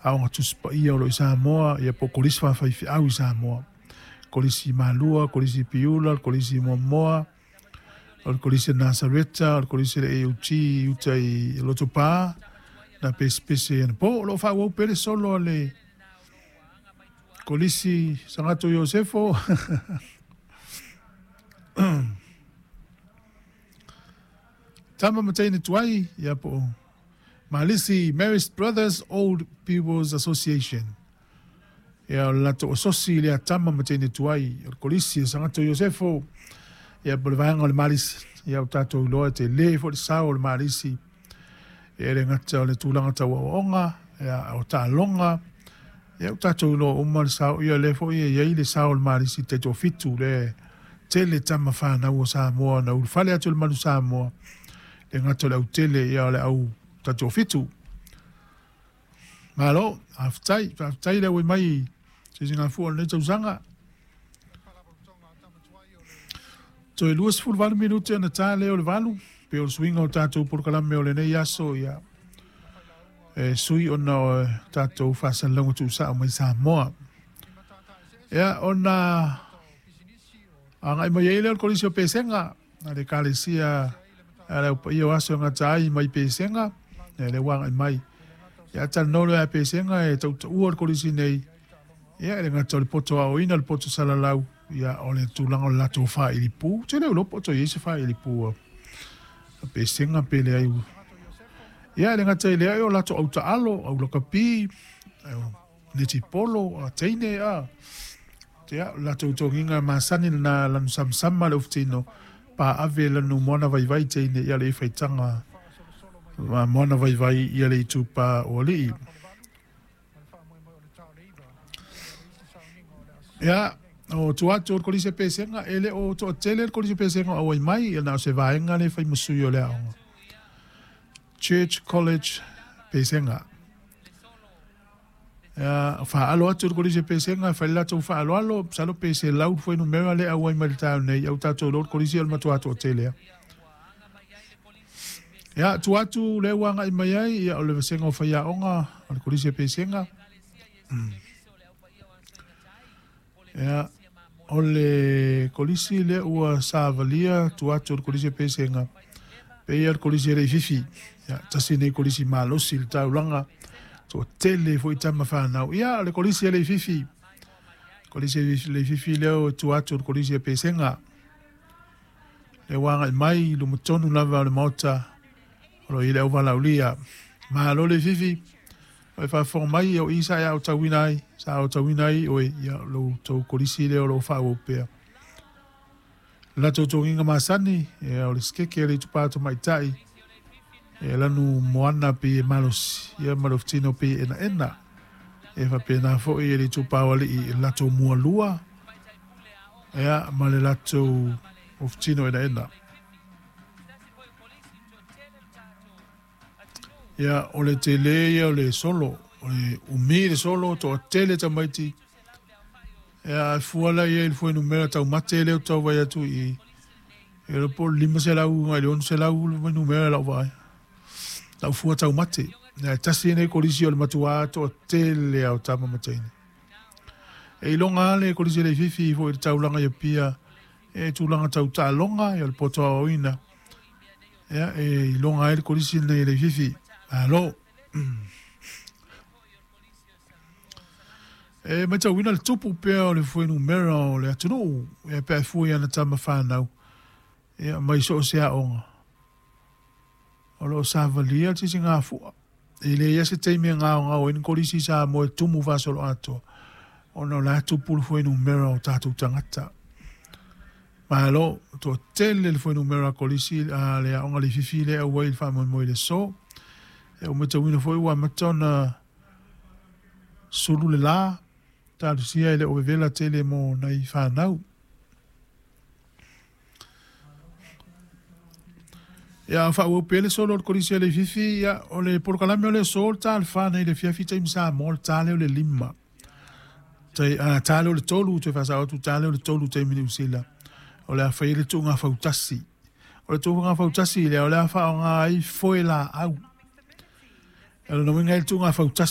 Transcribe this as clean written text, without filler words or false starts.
Aoga Tusi Paia o lo o i Samoa, ia po o Kolisi Faafaifeau i Samoa. Kolisi Malua, Kolisi Piula, le Kolisi Moamoa, o le Kolisi a Nasareta, o le Kolisi a le AOG i uta i Lotopa, na pesepese anapo. O lo o faaauau pea le solo a le Kolisi Sagato Iosefo. Tama ma teine tuai, ia po o Malisi Marist Brothers Old People's Association. Ia o le latou asosi lea tama ma teine tuai, o le Kolisi o Sagato Iosefo, ia po o le vaega o le Malisi. Ia ua tatou iloa e tele foi le sao o le Malisi, e le gata o le tulaga tau aoaoga, ia o taaloga, ia ua tatou iloa uma le sao, ia lea foi e i ai le sao o le Malisi taitoafitu lea e tele tama fanau o Samoa na ulufale atu i le Manu Samoa, le gata o le autele, ia o le au taitoafitu. Malo, faafetai, faafetai le auai mai i Sisigafua o lenei tausaga. Toe 28 minute ona ta lea o le 8, pei o le suiga o tatou polokalame o lenei aso, ia, e sui ona o tatou faasalalauga tuusao mai Samoa. Ia, ona agai mai ai lea o le Kolisi o Pesega, a le Ekalesia a le Au Paia o Aso e Gata ai mai Pesega, ia lea ua agai mai. Ia, talanoa loa ia Pesega e tautaua le Kolisi nei, ia e le gata o le poto aoina, le poto salalau, ia o le tulaga o le latou faailipu. Ou te le iloa po o toe i ai se faailipu a Pesega pe leai. Ia e le gata i lea, o latou au taalo, au lakapi, netipolo, a teine, a. Ia, o le latou togiga masani lena lanu samasama le ufutino, pa ave lanu moana vaivai teine ia le faitaga moana vaivai ia le itupa o alii. Ia, o tua atu o le Kolisi o Pesega, e le o toatele le Kolisi o Pesega o auai mai, ia na o se vaega lea e fai ma sui o le aoga. Church College Pesega. Ia, faalo atu le Kolisi o Pesega, fai le latou faaaloalo, masalo pe 100 fuainumera lea e auai mai le taeao nei, ia ua tatou iloa le Kolisi o le matua toatele lava. Ia, tua atu lea ua agai mai ai, ia, o le vasega o faiaoga o le Kolisi o Pesega. Ia, o le Kolisi lea ua savalia tua atu o le Kolisi o Pesega, pei o le Kolisi e Leififi. Ia, tasi lenei Kolisi malosi i le taulaga, toatele foi tama fanau. Ia, o le Kolisi e Leififi. Kolisi e Leififi lea ua tua atu o le Kolisi o Pesega. Lea ua agai mai i luma tonu lava o le Maota o lo o i ai le auvalaaulia. Malo Leififi, o e faafofoga mai, o i sa e aotauina ai, sa aotauina ai oe, ia lo outou kolisi lea o lo o faaauau pea. Le latou togiga masani, ia o le sikeke a le itupa tamaitai, e lanu moana pei e malosi, ia ma le ofutino pei e enaena. E faapena foi e le itupa o alii i le latou mualua, ia ma le latou ofutino enaena. Ia, o le tele ia o le solo, o le umi le solo, toatele tamaiti. Ia, a fua la i ai i le fuainumera taumate lea ou te tau vaai atu i i, e iloa po o le 500 agai i le 600 le fuainumera i lau vaai, lau fua taumate. Ia, e tasi lenei kolisi o le matua toatele lava o tama ma teine. E iloga lava le kolisi a Leififi foi i le taulaga i Apia, e tulaga tau taaloga, ia o le poto aoaoina. Ia, e iloga ai le kolisi lenei e Leififi. Malo. E matauina le tupu pea o le fuainumera o le atunuu, ia pe a fua i ana tama fanau, ia mai so o se aoga. O lo o savalia le sisigafua. E leai lava se taimi e gaogao ai ni kolisi i Samoa e tumu faasoloatoa, ona o la e tupu le fuainumera o tatou tagata. Malo, toatele le fuainumera kolisi a le aoga Leififi lea e auai i le faamoemoe i le aso. E ua matauina foi ua amata ona sulu le la, talosia e le o vevela tele mo nai fanau. Ia, a faaauau pea le solo o le Kolisi a Leififi, ia, o le polokalame o le aso, o le ta o le fa nei i le afiafi taimi Samoa, o le ta lea o le 5. Tai, a, ta lea o le 3, toe faasao atu, ta lea o le 3 taimi Niu Sila. O le a fai ai le tuuga fautasi. O le tuuga fautasi lea, o le a faaaoga ai foe laau. O lona uiga e le tuuga fautasi.